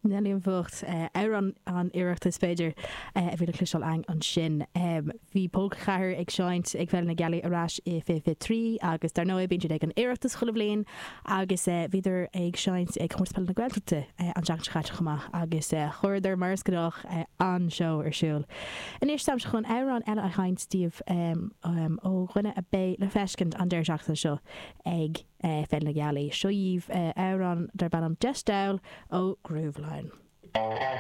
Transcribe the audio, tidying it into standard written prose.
Neilí an Bhocht, amhrán an Oireachtais b'fhéidir, a bhí le cloisteáil againn ansin. Bhí Pólca 4 ag seinnt ag Féile na Gealaí ar ais i 2023 agus dar ndóigh bíonn siad ag an Oireachtas chuile bhliain agus bhíodar ag seinnt ag Comórtas Peile na Gaeltachta an tseachtain seo caite chomh maith agus chuireadar, mar is gnách, an-seó ar siúl. Anois táimse chun amhrán eile a sheinnt daoibh ó dhuine a beidh le feiscint an deireadh seachtaine seo ag Féile na Gealaí. Seo dhaoibh amhrán darb ainm Deis Diabhail ó Grooveline.